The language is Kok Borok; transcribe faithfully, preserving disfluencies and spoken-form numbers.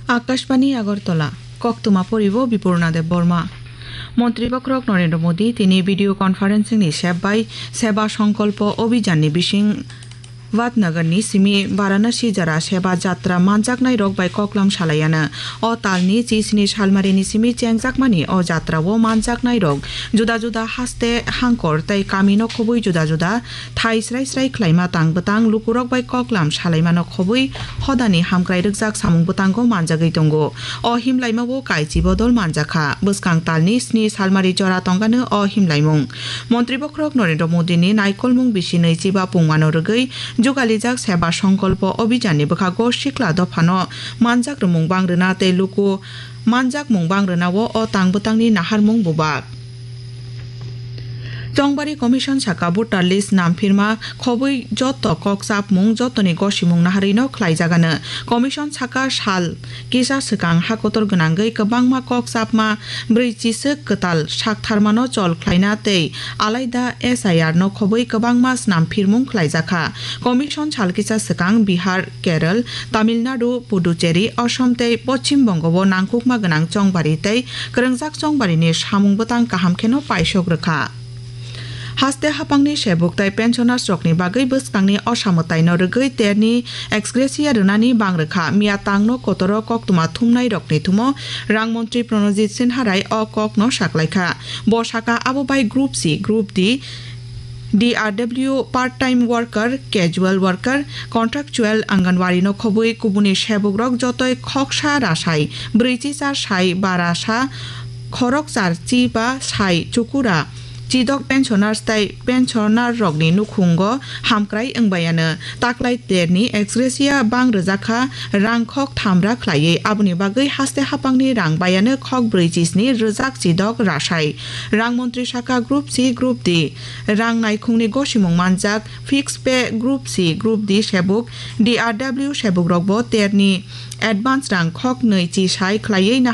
Akashbani Agartala, koktwma poribo Bipurna Debbarma. Montri Bokhorok Narendra Modi tini video conferencing ni sep bai Seba Sankalpa Abhijan ni bising Vadnagar ni simi Varanasi jora Seba Jatra manjaknai rok bai koklam salaiano. O tal ni chi sini salmari ni simi chengjakmani o jatra o manjaknai rok juda juda haste hangkor tei kami no khobwi juda juda thai srai srai khlaima tang bwtang lukurok bai koklam salaimano khobwi hodani hamkrai rwkjak samung bwtango manjagwi tongo. O himlaimao kaichi bodol manjakha. Bwskang talni sni salmari jora tongano o himlaimung. Montri Bokhorok Narendra Modi ni naikolmung bisi nwichiba pungmano rwgwi jugalijak Seba Sankalpa Abhijan ni bwkhago sikla dophano manjak rwmung bang rwna tei luku manjakmung bang rwnao o tang bwtangni naharmung bubak. Chongbari Commission saka voter list namphirma khobwi joto kok chapmung jotoni gosimung naharwino khlaijagano. Commission saka sal kisa swkang hakotor gwnangwi kwbangma kok chapma brwi chiswk kwtal saktharmano chol khlaina tei alaida S I R no khobwi kwbangma snamphirmung khlaijakha. Commission sal kisa swkang Bihar, Kerala, Tamil Nadu, Puducherry, Assam tei Poschim Bongo o nangkukma gwnang chongbari tei kwrwngjak chongbarini samung bwtang kaham kheno paisok rwkha. Haste hapangni sebuk tei pensioners rokni bagwi bwskangni osamwtaino rwgwi terni ex gratia rwnani bang rwkha. Miya tangno kotoro koktwma thumnai rokni thumo rang montri Pranojit Sinha Rai o kokno saklaikha. Bo saka abo bai Group C, Group D, D R W, part-time worker, casual worker, contractual, Anganwadi no khobwi kubuni sebukrok jotoi khoksa rasai, brwi chi char sai ba rasa, khorok char chi ba sai chukura, chidok pensioners tei pensioner rokni nukhungo hamkrai wngbayano. Taklai terni ex gratia bang rwjakha rang khok thamra khlaiwi, aboni bagwi haste hapangni rang bayano khok brwi chi sni rwjak chidok rasai. Rang montri saka Group C, Group D rang naikhungni gosimung manjak, fixed pay Group C, Group D sebuk, D R W sebukrokbo terni advance rang khok nwi chi sai khlaiwi